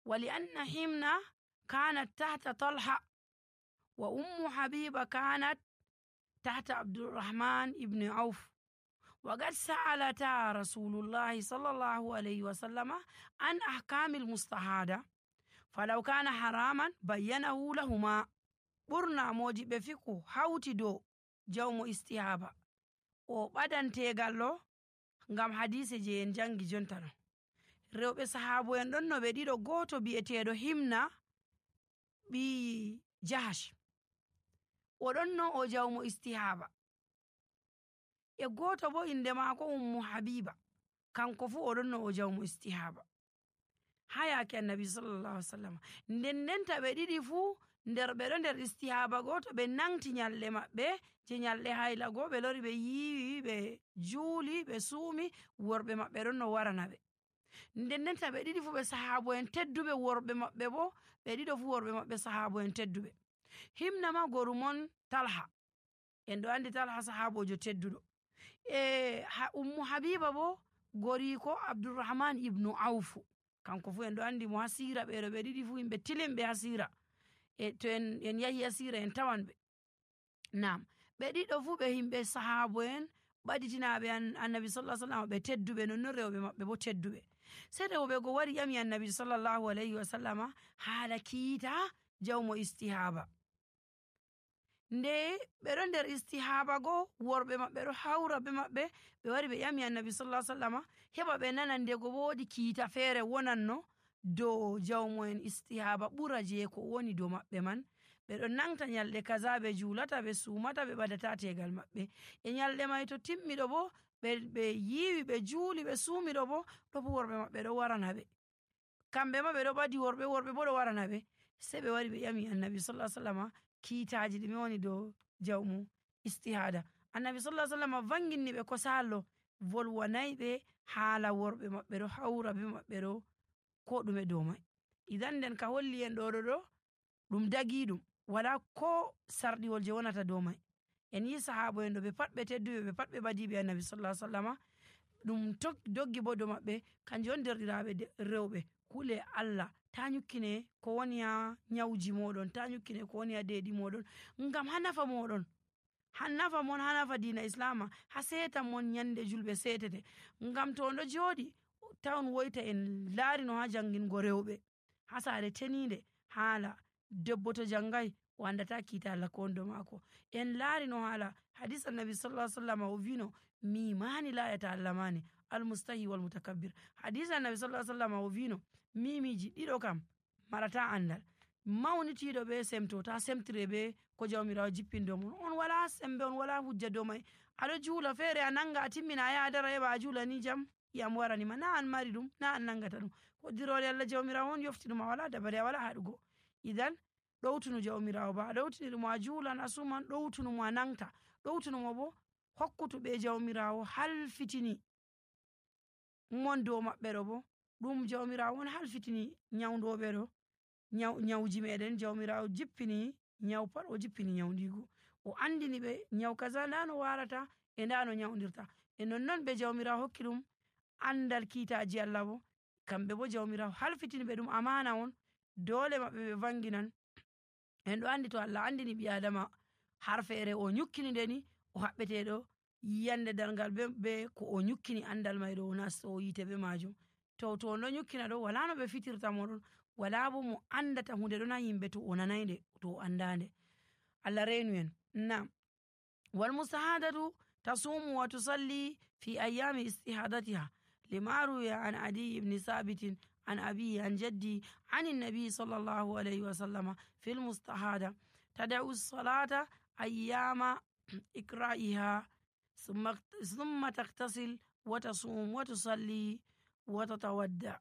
ولأن حمنة كانت تحت طلحة وأم حبيبة كانت تحت عبد الرحمن بن عوف، وقد سألتا رسول الله صلى الله عليه وسلم عن أحكام المستحاضة، فلو كان حراما بينه لهما. ɓurna mojiɓe fiku hawti dow jawmo istihaba o ɓadantegal ngam hadise je en jangi jonta ɗo. Rewɓe sahabo en ɗon no ɓe ɗiɗo, goto bi'eteɗo Himna ɓi Jahash, oɗon no o jawmo istihaba, e goto bo inde maako Ummu Habiba, kanko fu oɗon no o jawmo istihaba. Ha yake annabi sallallahu alaihi wasallam ndendenta ɓe ɗiɗi fu nder ɓeɗo nder istihaba goto ɓe nangti nyalɗe maɓɓe je nyalɗe hayla go, ɓe lori ɓe yiwi, ɓe juuli, ɓe suumi, worɓe maɓɓe ɗon no warana ɓe. Ndendenta ɓe ɗiɗi fu ɓe sahabo en tedduɓe, worɓe maɓɓe bo ɓe ɗiɗo fu worɓe maɓɓe sahabo en tedduɓe. Himna ma gorumon Talha, en ɗo andi Talha sahabojo tedduɗo. Ummu Habiba bo goriko Abdurrahman ibnu Awfu, kanko fu en ɗo andi mo hasira, ɓeɗo ɓe ɗiɗi fu yimɓe tilimɓe hasira, to en yahi hasira en tawan ɓe. Nam ɓe ɗiɗo fu ɓe himɓe sahabo en ɓaditinaɓe annabi sallallahu alaihi wasallam ɓe tedduɓe, nonnon rewɓe maɓɓe bo tedduɓe. Sai rewɓe go wari ƴami annabi sallallahu alaihi wasallama haala kiita jawmo istihaba. Nde ɓeɗo nder istihaba go worɓe maɓɓe ɗo hawra be maɓɓe, ɓe wari ɓe ƴami annabi sallallahu alaihi wasallama heɓa ɓe nana ndego bo woodi kiita feere wonanno dow jawmo en istihaba ɓura je ko woni dow maɓɓe man. Ɓeɗo nangta nyalɗe kaza, ɓe juulata, ɓe suumata, ɓe ɓadata tegal maɓɓe. E nyalɗe may to timmiɗo bo ɓe yiwi, ɓe juuli, ɓe suumiɗo bo ɗo bo worɓe maɓɓe ɗo warana ɓe, kamɓe ma ɓe ɗo ɓadi worɓe bo ɗo warana ɓe. Sai ɓe wari ɓe ƴami annabi sallallahu alaihi wasallama kiitaji ɗume woni dow jawmu istihada. Annabi sallallahu alaihi wasallama vanginni ɓe ko sallo, volwanayi ɓe haala worɓe maɓɓe ɗo hawra be maɓɓe ɗo ko ɗume dow mai. Idan nden ka holli en ɗo ɗum dagi ɗum, wala ko sarɗiwol je wonata dow mai. En yi sahabo en ɗo ɓe pat ɓe tedduɓe, ɓe pat ɓe ɓadiɓe annabi sallallahu alaihi wasallama, ɗum doggi bo dow maɓɓe kanjum on derɗiraɓe rewɓe. Kule Allah ta nyukkine ko woni ha nyawji moɗon, ta nyukkine ko woni ha deeɗi moɗon, ngam ha nafa moɗon, ha nafa mon, ha nafa diina islama, ha setan mon nyande julɓe setete. Ngam to on ɗo joɗi tawon woyta en laari no ha jangingo rewɓe ha saare teninde, haala debbo to jangai o andata kiita Allah ko on dow maako. En laari no haala hadis annabi sallallahu alaihi wasallam o vino mimani la yata'allamani almustahi wal mutakabbir. Hadis annabi sallallahu alaihi wasallam o vino mimiji ɗiɗo kam marata andal, mawnitiɗo be semto ta semtire be ko jawmirawo jippin dow mon. On wala sembe, on wala hujja dow mai. Aɗo juula feere a nanga a timmina a yaha dara heɓa a juula ni jam yam waranima, na an mari ɗum, na an nangata ɗum, ko dirole Allah jawmirawo on yofti ɗum, a wala dabare, a wala haɗugo. Idan ɗowtunu jawmirawo ba, a ɗowtiniɗumo a juulan, a suman, ɗowtunumo a nangta, ɗowtunumo bo hokkutuɓe jawmirawo halfitini mon dow maɓɓe ɗo bo ɗum jawmirawo on halfitini nyawdoɓe ɗo nyawji meɗen. Jawmirawo jippini nyaw pat, o jippini nyawndigu, o andini ɓe nyaw kaza nda no warata e nda no nyawdirta. E nonnon ɓe jawmirawo hokki ɗum andal kiitaji Allah bo, kamɓe bo jawmirawo halfitini ɓe ɗum amana on, dole maɓɓe ɓe vanginan. En ɗo andi to Allah andini ɓi adama har feere o nyukkini ndeni o haɓɓeteɗo yiyande darngal be ko o nyukkini andal may ɗo o nasto o yite be majum. To on ɗo nyukkina ɗo wala no ɓe fitirta moɗon, wala bo mo andata hunde ɗon ha yimɓe to o nanayde, to o andande. Allah reenu en. Nam wal mustahadatu tasumu wa tusalli fi ayami istihadatiha lima ruya an Adi ibn Sabitin عن أبي عن جدي عن النبي صلى الله عليه وسلم في المستحاضة تدعو الصلاة أيام إقرائها ثم تغتسل وتصوم وتصلي وتتودع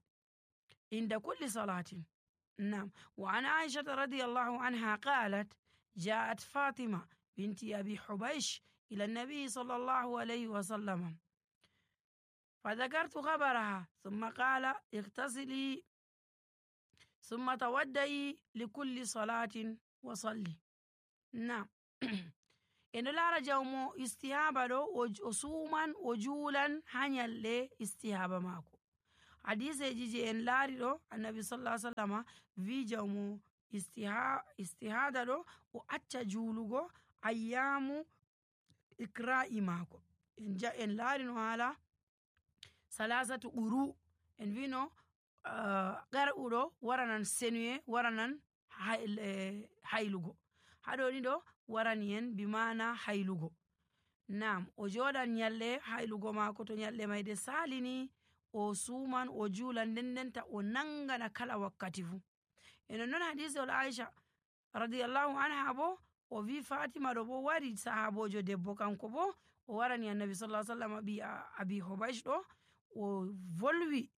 عند كل صلاة. نعم. وعن عائشة رضي الله عنها قالت جاءت فاطمة بنت أبي حبيش إلى النبي صلى الله عليه وسلم فذكرت خبرها ثم قال اغتسلي ثم تودعي لكل صلاة وصلي. نعم. إن لا رجوم استهابة وسوما وجولا هنيال استهابة ماكو. hadiseji je en laari ɗo annabi sallallahu alaihi wasallam wi jawmo istihada ɗo o acca juulugo ayyamu ikra'i maako. En laari no haala salasatu ɓuru en wino ƙar'uɗo waranan senuye waranan haylugo, haɗoni ɗo warani en bi mana haylugo. Nam o joɗan nyalɗe haylugo maako, to nyalɗe mai de salini o suman o juulan ndendenta o nangana kala wakkati fu. Enon non hadisewol Aisha radiyallahu anha bo o wi Fatima ɗo bo wari sahabojo debbo kanko bo o warani annabi sallallahu alaihi wasallam ɓi abi Hubaysh ɗo o volwi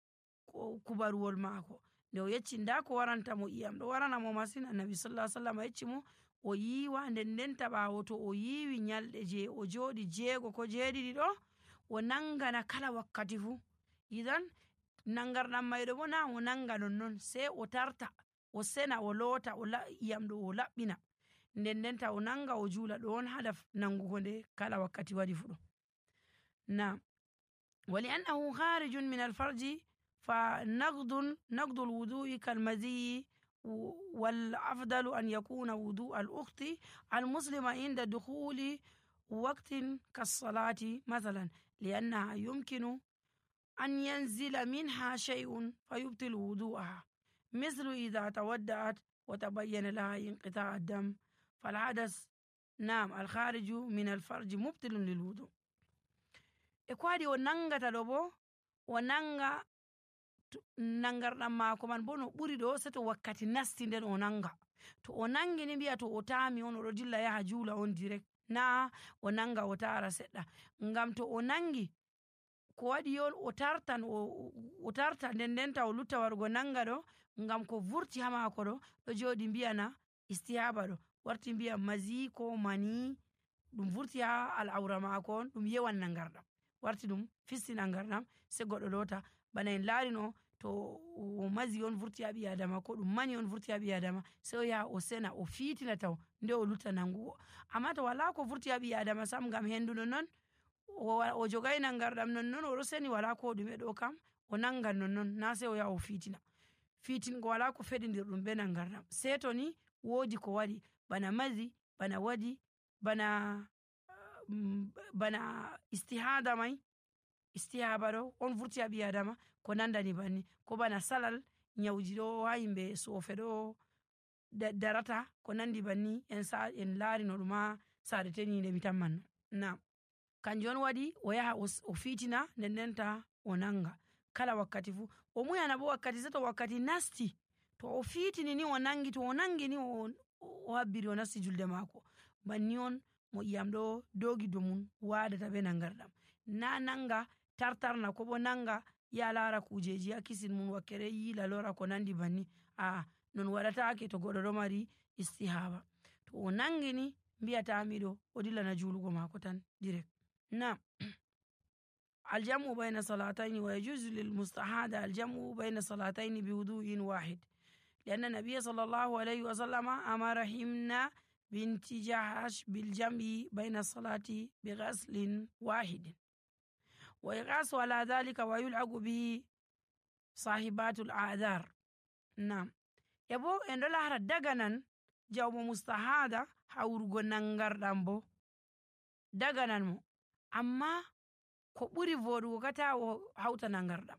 kubaruwol maako nde o yecci nda ko waranta mo iyam ɗo warana mo masin. Annabi sallallahu alaihi wasallam yecci mo o yiwa ndendenta ɓawo to o yiwi nyalɗe je o joɗi 6 ko 7 ɗo o nangana kala wakkati fu. Idan nangarɗam maiɗo bo na o nanga nonnon, sai o tarta o sena o loota iyam ɗo o laɓɓina ndendenta o nanga o juula, ɗo on haɗa nangugo nde kala wakkati waɗi fu ɗo. Na wali annahu kharijun min alfarji fa naqdu alwudu'i kalmaziyi wal afdalu an yakuna wudu al ukhti al muslima inda dukhuli waqtin kassalati mathalan liannaha yumkinu أن ينزل منها شيء فيبطل وضوءها مثل إذا تودأت وتبين لها انقطاع الدم فالحدث نعم الخارج من الفرج مبطل للوضوء. إكوادي ونانغا تلوبو ونانغا nangarɗam maako man bo no ɓuri ɗo seto wakkati nasti nden o nanga, to o nangi ni mbiya to o tami on oɗo dilla yaha juula on direct, na o nanga o tara seɗɗa, ngam to o nangi ko waɗi on o tarta ndendenta o lutta warugo nanga ɗo, ngam ko vurti ha maako ɗo joɗi mbiyana istihaba ɗo warti mbiya mazi ko mani ɗum vurti ha al'aura maako on ɗum yewan nangarɗam warti ɗum fisti nangarɗam sai goɗɗo lota. Bana en laarino to o mazi on vurti ha ɓi adama ko ɗum mani on vurti ha ɓi adama sai o yaha o sena o fitina taw nde o lutta nangugo. Amma to wala ko vurti ha ɓi adama sam ngam hendu non o jogai nangarɗam nonnon oɗo seni wala ko ɗume ɗo kam o nangan nonnon na sai o yaha o fitingo wala ko feɗidir ɗum be nangarɗam, sai to ni wodi ko waɗi bana mazi bana waɗi bana istihada mai istihaba ɗo on vurti ha ɓi adama ko nandani banni, ko bana salal nyawji ɗo ha yimɓe sofe ɗo darata ko nandi banni en laari no ɗum ha sare teninde mi tammanno. Na kanjum on waɗi o yaha o fitina ndendenta o nanga kala wakkati fu o muyana bo wakkati seto wakkati nasti to o fitini ni o nangi, to o nangi ni o habbiri o nasti julde maako banni on mo iyam ɗo dogi dow mum waɗata be nangarɗam, na nanga tartarna ko bo nanga ya lara kujeji ha kisin mum wakkere yila lora ko nandi banni, non waɗatake to goɗɗo ɗo mari istihaba. To o nangi ni mbiyatami ɗo o dillana julugo maako tan direct. نعم الجمع بين صلاتين ويجوز للمستحاضة الجمع بين صلاتين بوضوء واحد لأن النبي صلى الله عليه وسلم أمر حمنا بنت جحش بالجمع بين الصلاة بغسل واحد ويقاس على ذلك ويلعق به صاحبات الأعذار. نعم يبو إن الله دغنان جوم مستحاضة hawrugo nangarɗam bo daganan mo, amma ko ɓuri voɗugo kata o hawta nangarɗam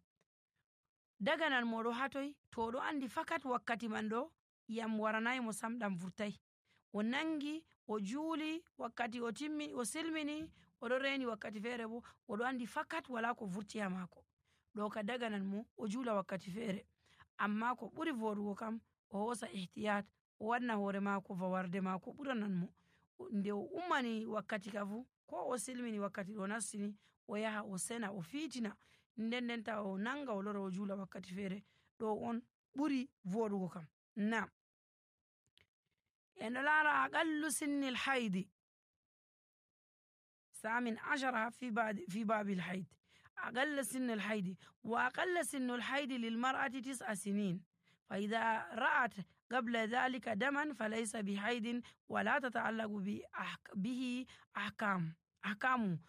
daganan mo ɗo hatoy to ɗo andi fakat wakkati man ɗo yam waranayi mo sam ɗam vurtai o nangi o juuli wakkati o timmi o silmini oɗo reni wakkati feere bo oɗo andi fakat wala ko vurti ha maako ɗo ka daganan mo o juula wakkati feere. Amma ko ɓuri voɗugo kam o hosa ihtiyat o wanna hoore maako fawarde maako ɓuranan mo nde o ummani wakkati ka fu ko o silmini wakkati ɗo nastini o yaha o sena o fitina ndendenta o nanga o lora o juula wakkati feere ɗo on ɓuri voɗugo kam. Na en ɗo laara aqallu sinnil haydi samin ashara fi babil hayd أقل سن الحيض وأقل سن الحيض للمرأة 9 سنين فإذا رأت قبل ذلك دما فليس بحيض ولا تتعلق به أحكامه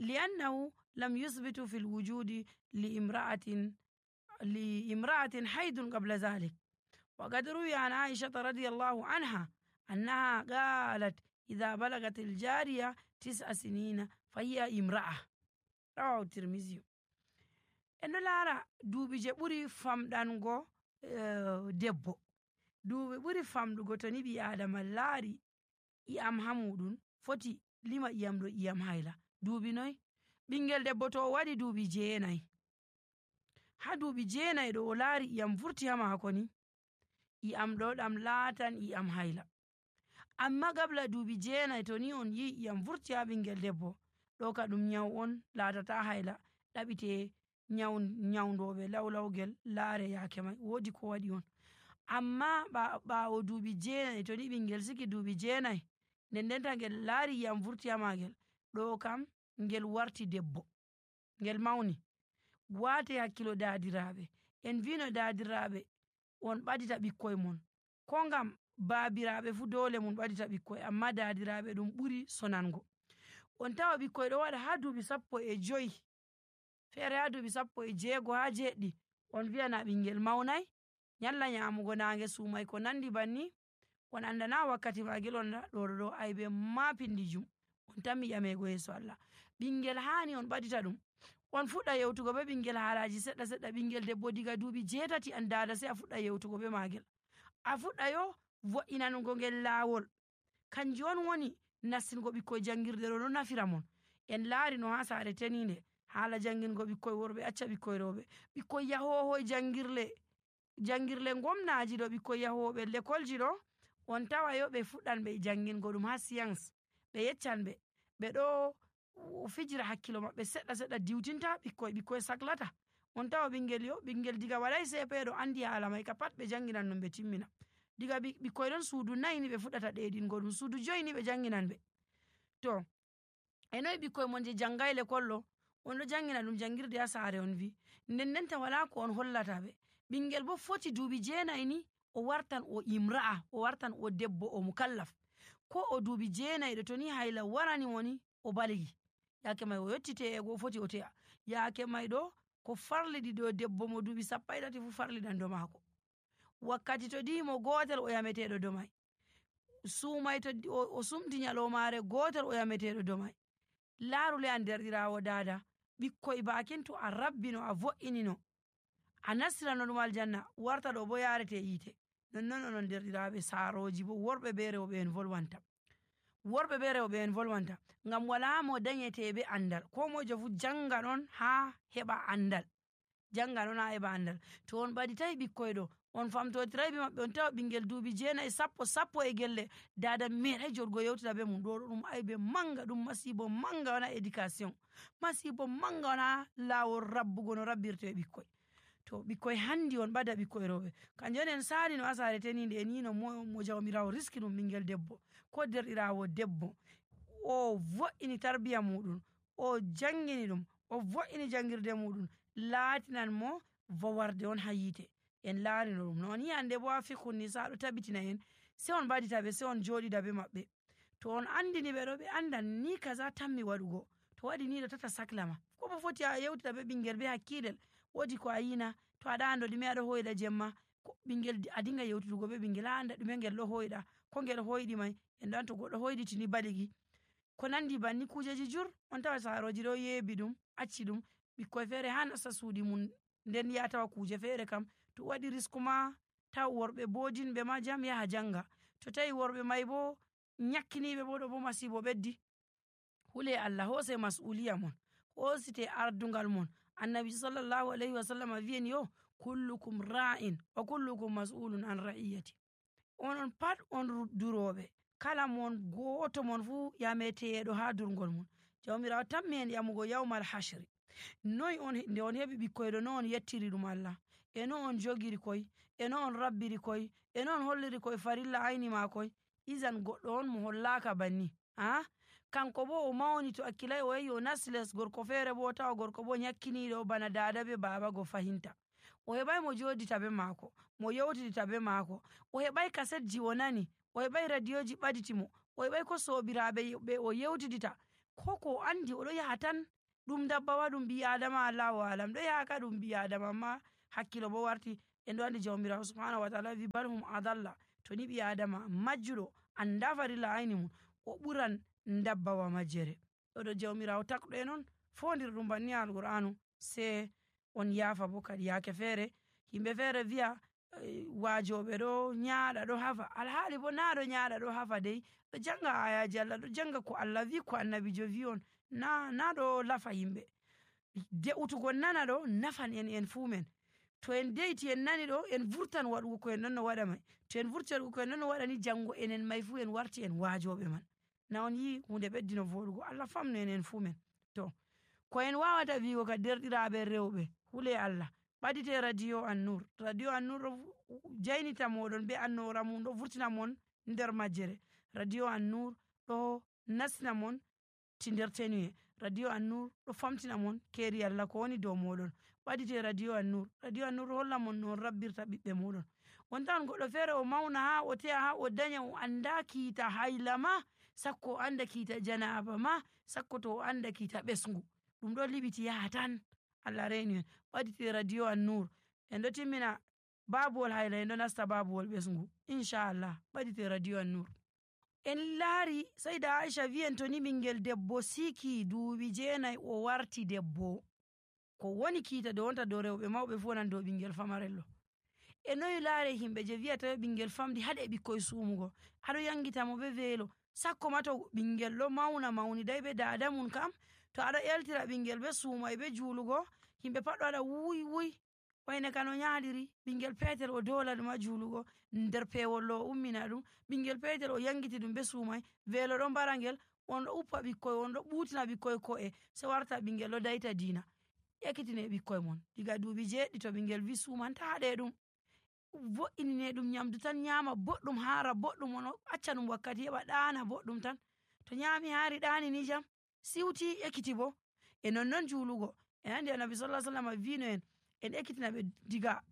لأنه لم يثبت في الوجود لامرأة لامرأة حيض قبل ذلك. وقد روي عن عائشة رضي الله عنها أنها قالت إذا بلغت الجارية 9 سنين فهي امرأة. رواه الترمذي. eno laara duuɓi je ɓuri famɗango debbo, duuɓi ɓuri famɗugo to ni ɓi adama laari iyam ha muɗum foti lima iyam ɗo iyam hayla. duuɓi noy? ɓingel debbo to o waɗi duuɓi 9, ha duuɓi 9 ɗo o laari iyam vurti ha maako ni, iyam ɗo ɗam laatan iyam hayla. amma gabla duuɓi 9 to ni on yi iyam vurti ha ɓingel debbo, ɗo ka ɗum nyawu on laatata hayla, ɗaɓite nyawndoɓe lawlawgel laare yaake mai woodi ko waɗi on. amma ɓaawo duuɓi 9 to ni ɓingel siki duuɓi 9 nden ndenta ngel laari iyam vurti ha maagel, ɗo kam ngel warti debbo, ngel mawni. waate hakkilo daadiraɓe, en vino daadiraɓe on ɓadita ɓikkoy mon, ko ngam baabiraɓe fu dole mun ɓadita ɓikkoy, amma daadiraɓe ɗum ɓuri sonango. on tawa ɓikkoy ɗo waɗa ha duuɓi 15, feere ha duuɓi 16 ha 7, on wiyana ɓingel mawnay, nyalla nyamugo nange sumay ko nandi banni, on andana wakkati magel, on ɗo aybe ma pindijum, on tammi ƴamego yeeso Allah. ɓingel hani on ɓadita ɗum, on fuɗɗa yewtugo be ɓingel haalaji seɗɗa seɗɗa. ɓingel debbo diga duuɓi 8 an dada sai a fuɗɗa yewtugo be magel, a fuɗɗa yo vo'inanugo ngel laawol. kanjum on woni nassingo ɓikkoy jangirde ɗo nafira mon. en laari no ha saare teninde haala jangingo ɓikkoy worɓe acca ɓikkoy rewɓe, ɓikkoy yahohoy jangirle gomnaji ɗo, ɓikkoy yahoɓe lekolji ɗo, on tawa yo ɓe fuɗɗan ɓe jangingo ɗum ha science, ɓe yeccan ɓe ɗo fijira hakkilo maɓɓe seɗɗa seɗɗa diwtinta ɓikkoy saklata. on tawa ɓingel diga waɗay CP ɗo andi haala mai ka pat ɓe janginan ɗum ɓe timmina. diga ɓikkoy ɗon suudu 4 ni ɓe fuɗɗata ɗeɗingo ɗum, suudu 5 ni ɓe janginan ɓe. to enoy ɓikkoy mon je jangay lekol ɗo, on ɗo jangina ɗum jangirde ha saare on wi, nden ndenta wala ko on hollata ɓe. ɓingel bo foti duuɓi 9 ni o wartan o imra'a, o wartan o debbo o mukallaf, ko o duuɓi 9 ɗo to ni hayla warani woni o baligi, yaake mai o yotti te'ego o foti o te'a. yaake mai ɗo ko farliɗi ɗo debbo mo duuɓi 13 fu farliɗan do maako. wakkati to dimo gotel o yameteɗo do mai, sumay to o sumti nyalomare gotel o yameteɗo do mai. laarule an derɗirawo dada, ɓikkoy bakin to a rabbino a vo'inino a nastirano ɗum aljanna, warta ɗo bo yarete yiite. nonnon onon derɗiraɓe saaroji bo worɓe be rewɓe en volwanta, ngam wala mo danyete be andal, ko mojo fu janga ɗon ha heɓa andal, to on ɓaditayi ɓikkoy ɗo, on famtotiray be maɓɓe, on tawa ɓingel duuɓi 9 sappo e gelle, dada meeɗay joɗgo yewtida be mum, ɗo ɗum aybe manga, ɗum masibo manga wona éducation, masibo manga wona laawol rabbugo no rabbirte ɓikkoy. to ɓikkoy handi on ɓada ɓikkoy rewɓe, kanjum en saali no ha saare teninde en yino mo jawmirawo riski ɗum ɓingel debbo ko derɗirawo debbo, o vo'ini tarbiya muɗum, o jangini ɗum, o vo'ini jangirde muɗum, laatinan mo vowarde on ha yiite. en laarino ɗum non yi hande bo ha fikhun nisa ɗo tabitina en, sai on ɓadita ɓe, sai on joɗida be maɓɓe, to on andini ɓe ɗo ɓe andan ni kaza tammi waɗugo, to waɗi ni ɗo tata saklama, ko bo foti a yewtida be ɓingel be hakkilel, wodi ko a yina, to aɗa ando ɗume aɗo hoyɗa jemma, ɓingel a dinga yewtudugo be ɓingel a anda ɗume ngel ɗo hoyɗa, ko ngel hoyɗi mai, en ɗo to goɗɗo hoyɗitini baligi, ko nandi banni kujeji jur, on tawa saaroji ɗo yeebi ɗum acci ɗum, ɓikkoy feere ha nasta suuɗi mum, nden ya tawa kuje feere kam to waɗi risku ma taw worɓe bodinɓe ma jam yaha janga, to tawi worɓe mai bo nyakkiniɓe bo ɗo bo masibo ɓeddi. hule Allah hose mas'uliya mon, hosite ardungal mon. annabi sallallahu alaihi wasallam wi'en yo kullukum ra'in wa kullukum mas'ulun an ra'iyati, onon pat on duroɓe, kala mon goto mon fu yameteɗo ha durgol mon. jawmirawo tammi en yamugo yawmal hashri, noy on nde on heɓi ɓikkoyɗo no on yettiri ɗum Allah, e no on jogiri koy, e no on rabbiri koy, e no on holliri koy farilla ayni ma koy. izan goɗɗo on mo hollaka banni, kanko bo o mawni, to akkilay o yahi o nasles gorko feere bo tawa gorko bo nyakkiniɗo bana dada be baba go fahinta, o heɓay mo jodita be maako, mo yewtidita be maako, o heɓay kasetji o nani, o heɓay radioji ɓaditi mo, o heɓay ko sobiraɓe ɓe o yewtidita, ko ko andi oɗo yaha tan ɗum dabbawa ɗum ɓi adama Allahu alam, ɗo yaha ka ɗum ɓi adama, amma hakkilo bo warti. En ɗo andi jawmirawo subhanahu wa taala wi bal hum adalla, to ni ɓi adama majjuɗo anda farilla ayni mum o ɓuran dabbawa majjere. ɗo jawmirawo takɗo e non fondir ɗum banni alqur'anu sai on yaafa bo kadi yaake feere yimɓe feere wi'a waajoɓe ɗo nyaaɗa ɗo hafa, alhaali bo na ɗo nyaaɗa ɗo hafa dey ɗo janga ayaji Allah, ɗo janga ko Allah wi ko annabijo wi on, na ɗo lafa yimɓe. de'utugon nana ɗo nafan en fuu men, to en de'iti en nani ɗo en vurtan waɗugo ko en ɗon no waɗa mai, to en vurti waɗugo ko en ɗon no waɗa ni jango enen mai fuu en warti en waajoɓe man. na on yi hunde ɓeddino voɗugo, Allah famnu en fuu men. to ko en wawata wigo ka derɗiraɓe rewɓe hule Allah ɓadite radio An-Nur ɗo jaynita moɗon be annora mum, ɗo vurtina mon nder majjere. radio An-Nur ɗo nastina mon ti nder tenuye, radio An-Nur ɗo famtina mon keri Allah ko woni dow moɗon. ɓadite radio An-Nur ɗo holla mon no on rabbirta ɓiɓɓe moɗon. on tawan goɗɗo feere o mauna ha o te'a ha o danya o anda kiita hayla ma, sakko o anda kiita janaba ma, sakko to o anda kiita ɓesgu, ɗum ɗo liɓiti yaha tan. Allah reni en. ɓadite radio An-Nur, en ɗo timmina babuwol hayla en ɗo nasta babuwol ɓesgu inchallah. ɓadite radio An-Nur. en laari sayda Aisha wi'en to ni ɓingel debbo siki duuɓi 9 o warti debbo, ko woni kiita do wonta dow rewɓe mawɓe fu wonan dow ɓingel famarello. e noyi laare himɓe je wi'ata ɓingel famdi haɗe ɓikkoy sumugo, aɗo yangita mo be weelo, sakko ma to ɓingel ɗo mauni dai be dada mun kam, to aɗo eltira ɓingel be suumai be juulugo, yimɓe pat ɗo waɗa wuy wayne ka no nyaaɗiri, ɓingel petel o dola ɗum ha juulugo, nder pewol o ummina ɗum, ɓingel petel o yangiti ɗum be suumai, weelo ɗo mbara ngel, on ɗo uppa ɓikkoy, on ɗo ɓutina ɓikkoy ko'e, sai warta ɓingel ɗo daita diina. ekkitine ɓikkoy mon diga duuɓi 7 to ɓingel wi sumanta haɗe ɗum, vo'inine ɗum nyamdu tan nyama boɗɗum, haara boɗɗum, on acca ɗum wakkati heɓa ɗaana boɗɗum tan, to nyami haari ɗaani ni jam siwti ekkiti bo. e nonnon juulugo en andi annabi sallallahu alaihi wasallam vino en ekkitina ɓe diga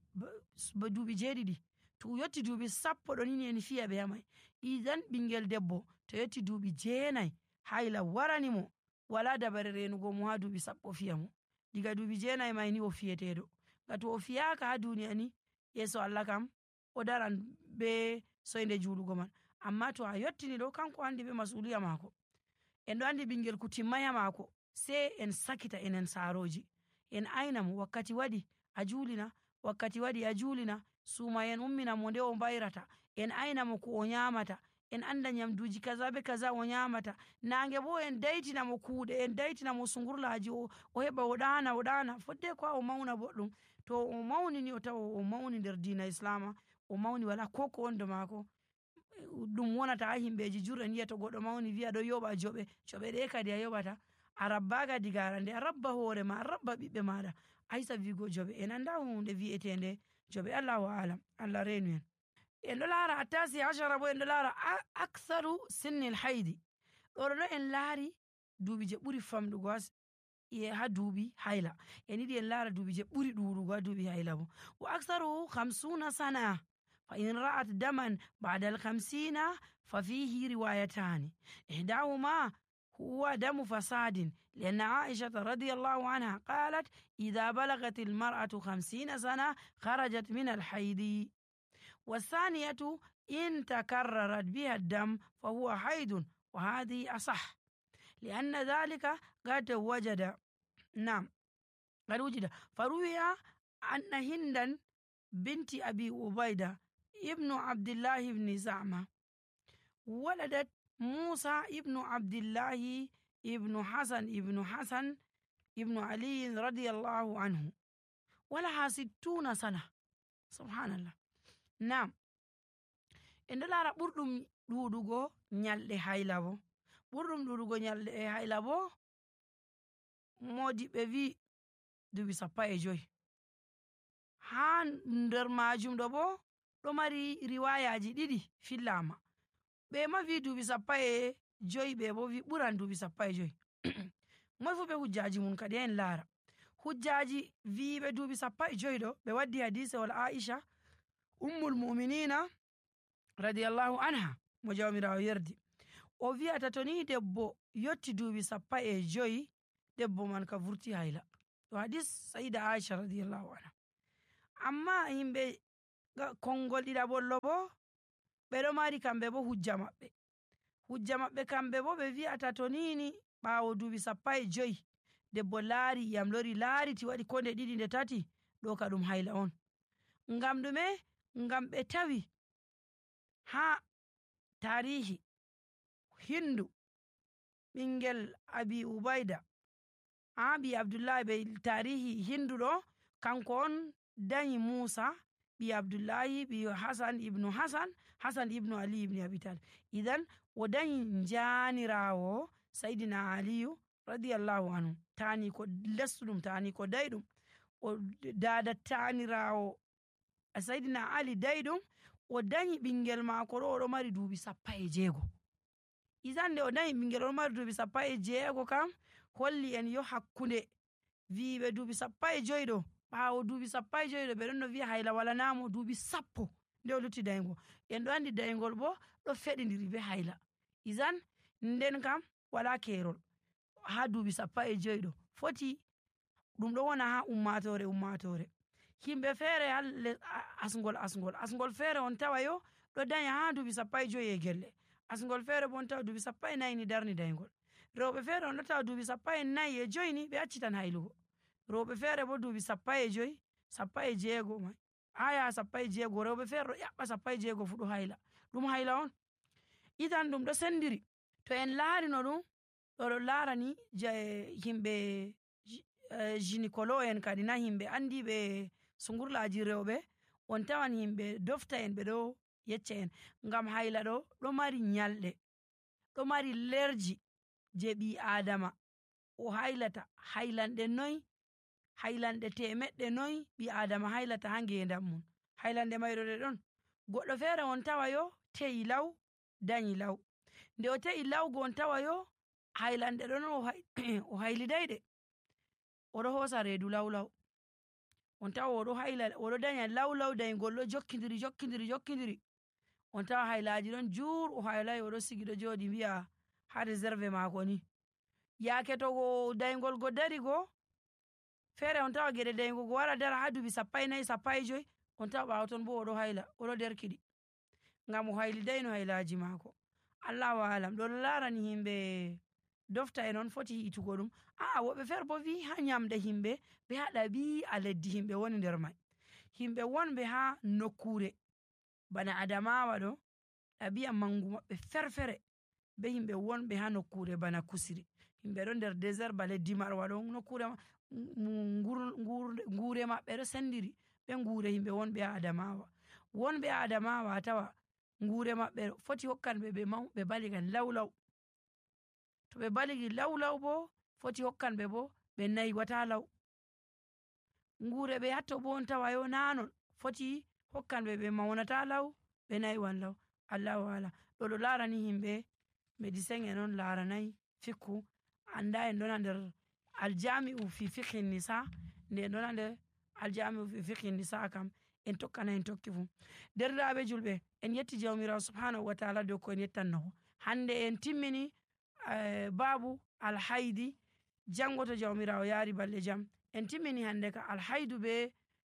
duuɓi 7 to yotti duuɓi 10 ɗo nini en fiya ɓe yamai. idan ɓingel debbo to yotti duuɓi 9 hayla warani mo, wala dabare renugo mo ha duuɓi 10 fiya mo, diga duuɓi 9 mai ni o fiyeteɗo. ngam to o fiyaka ha duniya ni yeso Allah kam o daran be soyde juulugo man, amma to a yottini ɗo kanko andi be masuliya mako. en ɗo andi ɓingel ku timmaya mako sai en sakita enen saroji, en aina mo wakkati waɗi a juulina, wakkati waɗi a juulina, suuma en ummina mo nde o bayrata, en aina mo ko o nyamata, en anda nyamduji kaza be kaza o nyamata, nange bo en daitina mo kuuɗe, en daitina mo sungurlaji o heɓa o ɗana fodde ko o mauna boɗɗum. to o mauni ni o tawa o mauni nder diina islama, o mauni wala ko wonda mako, ɗum wonata ha himɓeji jur'en yi'a to goɗɗo mauni wi'a ɗo yoɓa joɓe ɗe kadi a yoɓata, a rabbaka diga arande, a rabba hoore ma, a rabba ɓiɓɓe maɗa, aysa wigo joɓe, en anda hunde wi'etende joɓe. Allahu alam, Allah renu en. en ɗo laara attasi ashara bo en ɗo laara aktharu sinnil haydi, ɗo en laari duuɓi je ɓuri famɗugo ha duuɓi hayla, en yiɗi en laara duuɓi je ɓuri ɗuɗugo ha duuɓi hayla bo. wa aktharu 50 sana fa in ra'at daman ba'da al-50 fa fihi riwayatani ihdahuma huwa damu fasadin لأن عائشة رضي الله عنها قالت إذا بلغت المرأة 50 سنة خرجت من الحيض، والثانية إن تكررت بها الدم فهو حيض، وهذه أصح لأن ذلك قد وجد فروي أن هندا بنت أبي عبيدة ابن عبد الله بن زعمة ولدت موسى ابن عبد الله ابن حسن ابن علي رضي الله عنه ولها 60 سنة. سبحان الله. en ɗo laara ɓurɗum ɗuɗugo nyalɗe hayla bo, ɓurɗum ɗuɗugo nyalɗe hayla bo modiɓɓe wi duuɓi 15 ha nder majum ɗo bo ɗo mari riwayaji 2 fillama, ɓe ma wi duuɓi 15, ɓe bo wi ɓuran duuɓi 15. moy fu be hujjaji mun kadi en laara hujjaji wiɓe duuɓi 15 ɗo ɓe waddi hadise wal Aisha ummul mu'minina radiyallahu anha mo jawmirawo yerdi, o wi'ata to ni debbo yotti duuɓi 15 debbo man ka vurti hayla. ɗo hadis sayida Aisha radiyallahu anha. amma yimɓe konngol ɗiɗaɓollo bo ɓe ɗo mari kamɓe bo hujja maɓɓe kamɓe bo ɓe wi'ata to nini ɓaawo duuɓi 15 debbo laari iyam lori laariti waɗi ko nde 2 nde 3 ɗo ka ɗum hayla on. Ngam ɗume? Ngam ɓe tawi ha tarihi Hindu ɓingel Abi Ubayda ɓi Abdullahi ɓe tarihi Hindu ɗo kanko on danyi Musa ɓi Abdullahi ɓi Hasan ibnu Ali ibn Abi Talib. Idan o danyi janirawo Sayyidina Aliyu radiyallahu anhu tani ko lesɗum tani ko dayɗum o dada tanirawo Sayyidina Ali dayɗum o danyi ɓingel maako ɗo oɗo mari duuɓi 16. Idan nde o danyi ɓingel oɗo mari duuɓi 16 kam holli en yo hakkunde wiiɓe duuɓi 15 ɗo ɓaawo duuɓi 15 ɗo ɓe ɗon no wi'a hayla walanamo duuɓi 10 nde o lutti dayngol. En ɗo andi daygol bo ɗo feɗidiri be hayla. Idan nden kam wala kerol ha duuɓi 15 ɗo foti ɗum ɗo wona ha ummatore himɓe feere asngol feere on tawa yo ɗo danya ha duuɓi 15 gelle, asngol feere bo on tawa duuɓi 14 ni darni daygol. Rewɓe feere on ɗo tawa duuɓi 14 ni ɓe accitan haylugo, rewɓe feere bo duuɓi 15 16 mai ha yaha 16 rewɓe feere ɗo ƴaɓɓa 16 fu ɗo hayla, ɗum hayla on. Idan ɗum ɗo sendiri to en laarino ɗum ɗo laarani himɓe gynécologue en kadi na himɓe andiɓe sungurlaaji rewɓe on tawan himɓe dofta en ɓe ɗo yecca en ngam hayla ɗo mari nyalɗe, ɗo mari lerji je ɓi adama o haylata haylanɗe 900 ɓi adama haylata ha ngendam mum. Haylanɗe mayɗo ɗe ɗon goɗɗo feere on tawa yo te'i law danyi law, nde o te'i lawgo on tawa yo haylanɗe ɗon o haylidayɗe oɗo hosa reedu law on tawa oɗo danya law daygol ɗo jokkidiri on tawa haylaji ɗon jur o haylai oɗo sigi ɗo joɗi wi'a ha réserve mako ni. Yaake to daygol go dari go feere on tawa geɗe daygo go wara dara ha duuɓi 14 on tawa ɓaawo ton bo oɗo hayla oɗo derkiɗi ngam o haylidayno haylaji maako. Allahu alam ɗo laarani himɓe dofta en on foti hiitugo ɗum. Woɓɓe feere bo wi ha nyamde himɓe ɓe ha ɗabi'a leddi himɓe woni nder mai. Himɓe wonɓe ha nokkure bana Adamawa ɗo ɗabi'a mangu maɓɓe ferfere be himɓe wonɓe ha nokkure bana Kusiri. Himɓe ɗo nder désert ba leddi Marwa ɗo nokkure ngure maɓɓe ɗo sendiri ɓe ngure himɓe wonɓe ha Adamawa. Wonɓe ha Adamawa tawa ngure maɓɓe foti hokkanɓe ɓe baliga law. To ɓe baligi law bo foti hokkanɓe bo ɓe naywata law. Ngure ɓe hatto bo on tawa yo nanon foti hokkanɓe ɓe maunata law ɓe naywan law. Allahu alam ɗo laarani himɓe médecin en on laaranayi fikku anda en ɗona nder aljami'u fi fiqhi nisa nde en ɗona nder aljami'u fi fiqhi nisa kam en tokkana en tokki fu. Derɗiraɓe julɓe en yetti jawmirawo subhanahu wa ta'ala dow ko en yettanno hande en timmini babu alhaidi jango to jawmirawo yaari balɗe jam en timmini hande ka alhaidu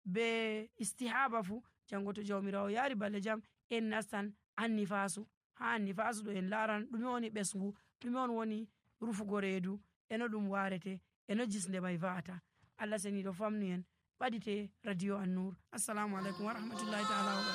be istihaba fu jango to jawmirawo yaari balɗe jam en nastan annifasu. Ha annifasu ɗo en laaran ɗume woni ɓesgu, ɗume on woni rufugo reedu, eno ɗum warete, eno jisnde mai va'ata. Allah seniɗo famnu en ɓadite radio An-Nur. Assalamu alaikum wa rahmatullahi ta'ala wa barakatuh.